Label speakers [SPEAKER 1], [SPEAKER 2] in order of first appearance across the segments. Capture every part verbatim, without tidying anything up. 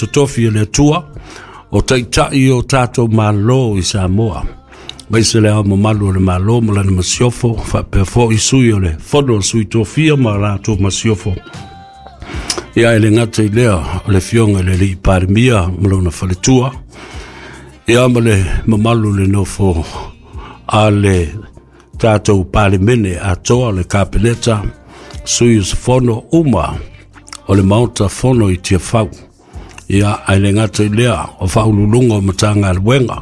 [SPEAKER 1] totofi e le Atua o taitai o tātou Malo i Samoa. Maise le ao mamalu o le Malo ma lana masiofo, faapea foi sui o le Fono o Sui Tofia ma latou masiofo. Ia e le gata i lea o le Afioga i le Alii Palemia ma lona faletua, ia ma le mamalu le nofo a le tātou Palemene atoa, le Kapeneta, sui usufono uma o le Maota Fono i Tiafau. Ia ae le gata i lea o faauluuluga o Matagaluega,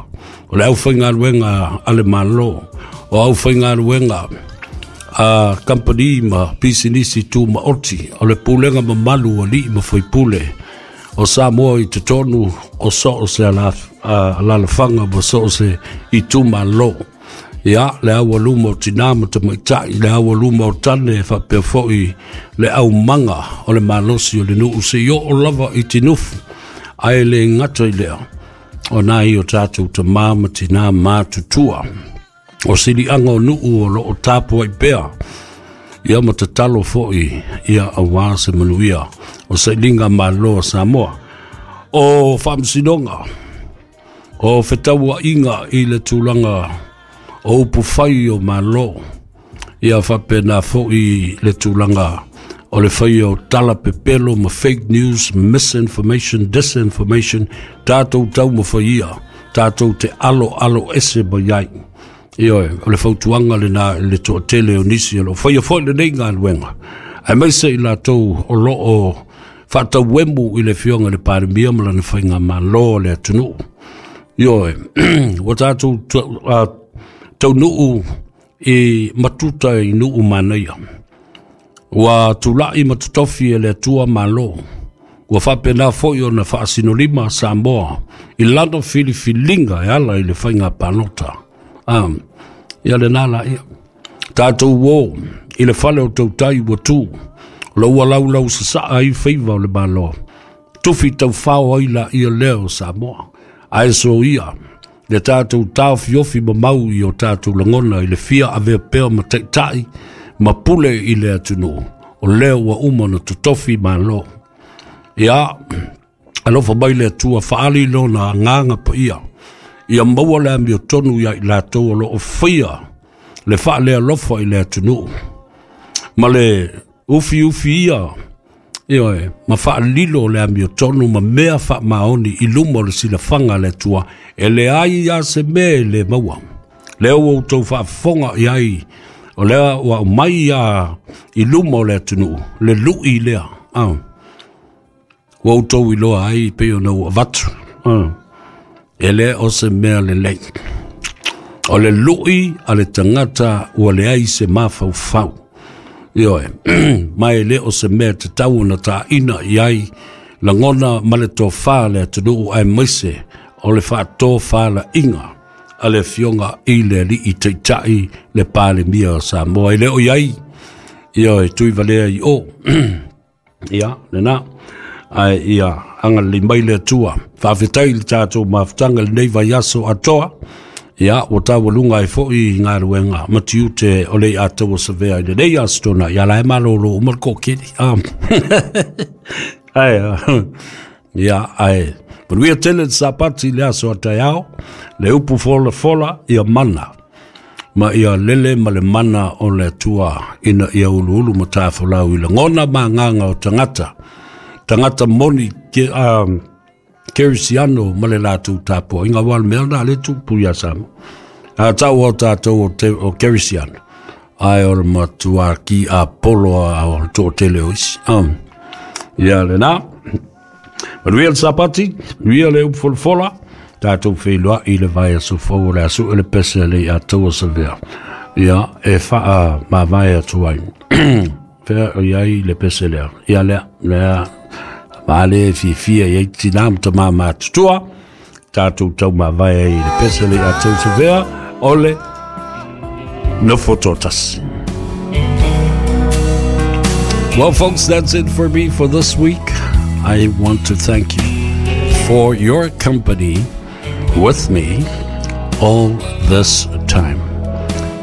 [SPEAKER 1] o le aufaigaluega a le Malo, o aufaigaluega a kampani ma pisinisi tumaoti, o le pulega mamalu o alii ma faipule o Samoa i totonu o so o se alalafaga ma so o se itumalo. Ia, le aualuma o tinā ma tamaitai, le aualuma o tane, faapea foi le aumaga o le malosi o le nuu seia oo lava i tinufu. Ae le gata i lea, o nai o tātou tamā ma tinā matutua o siliaga o nuu o loo tapuai pea, ia ma tatalo foi ia auā se manuia o sailiga malo a Samoa. O faamasinoga, o fetauaiga i le tulaga o upufai o Malo, ia faapena foi le tulaga o le faia o tala pepelo ma fake news, misinformation, disinformation, tātou taumafai ia tātou te alo alo ese mai ai. Ioe, o le fautuaga lena i le toatele o nisi o loo faia foi lenei galuega, aemaise i latou o loo faatauemu i le Afioga i le Palemia ma lana faigamalo o le atunuu. Ioe, ua tatou taunuu i matuta i nuu manaia. Ua tulai ma totofi e le Atua Malo. Ua faapena foi ona faasinolima Samoa i lana filifiliga e ala i le faiga palota. Um, ia lena la ia. Tātou o i le fale o tautai ua tu, o ua laulau sasaa ai faiva o le Malo. Tufi taufao ai la ia lea o Samoa. Ae so ia, le tātou taofiofi mamau i o tātou lagona i le fia avea pea ma taitai ma pule i le atunuu. O lea ua uma na totofi Malo. Ia, alofa mai le Atua faali lona agaga paia. Ia maua le amiotonu ia i latou o loo faia le faalealofa i le atunuu. Ma le ufi ufi ia, ioe, ma faalilo le amiotonu ma mea faamaoni i luma o le silafaga a le Atua, e leai a se mea e le maua. Lea ua outou faafofoga i ai, o lea ua aumai ia i luma o le atunuu, le lui lea. Ah. Ua outou iloa ai pei ona ua avatu. Ah. E le o se mea lelei. O le lui a le tagata ua leai se mafaufau. Ioe, ma e le o se mea tatau ona taina i ai lagona ma le tofā le atunuu, aemaise o le faatofalaiga a le Afioga i le Alii Taitai le Palemia o Samoa. E le o i ai, ioe, tuivalea i o. Ia, lena. Ae ia agalelei mai le Atua. Faafetai le tātou mafutaga lenei vaiaso atoa. Ia, ua taualuga ai foi i galuega ma tiute o le iataua savea i lenei aso tona. Ia la e malolo uma le kokeli. Ah. Ai, ia, ai, manuia tele le Sapati i le aso a taeao, le upu folafola ia mana. Ma ia lele ma le mana o le Atua ina ia uluulu ma tafolau i lagona ma agaga o tagata. Tagata moni ke, um, Kerisiano ma le latou tapuaiga ua le mea na le tupu ia Samoa. A tau o tātou o, te, o Kerisiano. Ai o le matua ki a polo a o le toatele o isi. Um, ia lena. Manuia le Sapati, manuia le upu folafola, tātou feiloai i le vaiaso fou o le aso e le pese le iataua savea. Ia, e whaa mavae atu ai. Fea o iai le pese lea. Ia lea, lea, maale fiafia i ai tinā ma tamā matutua, tātou tau mavae ai i le pese le iataua savea, o le nofo toatasi. Well, folks, that's it for me for this week. I want to thank you for your company with me all this time.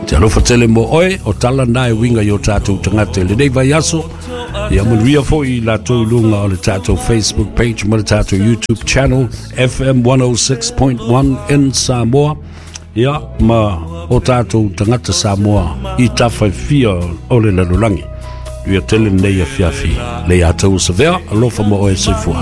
[SPEAKER 1] Te alofa tele mo oe, o tala nā e winga i o tātou tagata i lenei vaiaso, Ia manuia foi i latou i luga o le tatou Facebook page ma le tatou YouTube channel F M one oh six point one in Samoa. Ia ma o tatou tagata Samoa i tafa e fia o le lalolagi. Ia tele nei afiafi le ia tau savea alofa mo oe soifua.